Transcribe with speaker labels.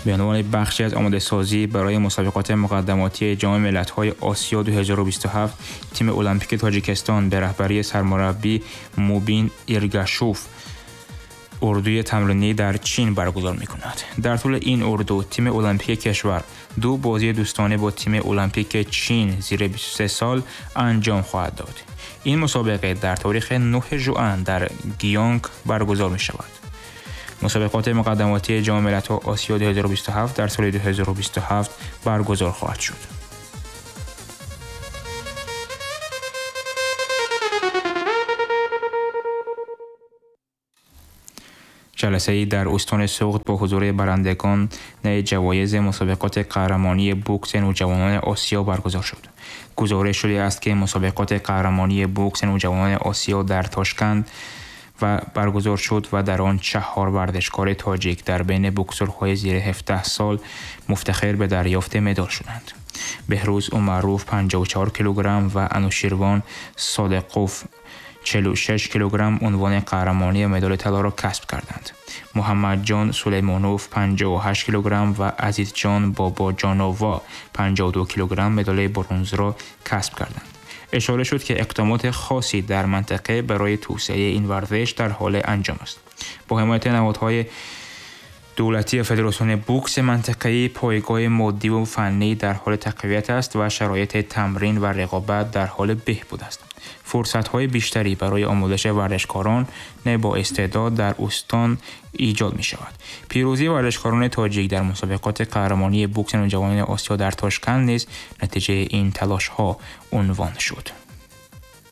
Speaker 1: به عنوان بخشی از آماده سازی برای مسابقات مقدماتی جام ملت‌های آسیا 2027 تیم المپیک تاجیکستان به رهبری سرمربی موبین ایرگاشوف اردوی تمرینی در چین برگزار می‌کند. در طول این اردو تیم المپیک کشور 2 بازی دوستانه با تیم المپیک چین زیر 23 سال انجام خواهد داد. این مسابقه در تاریخ 9 ژوئن در گیانگ برگزار می‌شود. مسابقات مقدماتی جام ملت‌های آسیا 2027 در سال 2027 برگزار خواهد شد. جلسه‌ای در استان سغد با حضور برندگان جوایز مسابقات قهرمانی بوکس نوجوانان آسیا برگزار شد. گزارش شده است که مسابقات قهرمانی بوکس نوجوانان آسیا در تاشکند و برگزار شد و در آن 4 ورزشکار تاجیک در بین بوکسورهای زیر 17 سال مفتخر به دریافت مدال شدند. بهروز عمروف 54 کیلوگرم و انوشیروان صادقوف 46 کیلوگرم عنوان قهرمانی مدال طلا را کسب کردند. محمد جان سلیمانوف 58 کیلوگرم و عزیز جان بابا جانووا 52 کیلوگرم مدال برنز را کسب کردند. اشاره شد که اقدامات خاصی در منطقه برای توسعه این ورزش در حال انجام است. با حمایت نهادهای دولتی فدراسیون بوکس منطقه‌ای پایگاه مادی و فنی در حال تقویت است و شرایط تمرین و رقابت در حال بهبود است. فرصت‌های بیشتری برای آموزش ورزشکاران با استعداد در استان ایجاد می‌شود. پیروزی ورزشکاران تاجیک در مسابقات قهرمانی بوکس نوجوانان آسیا در تاشکند نیز نتیجه این تلاش‌ها عنوان شد.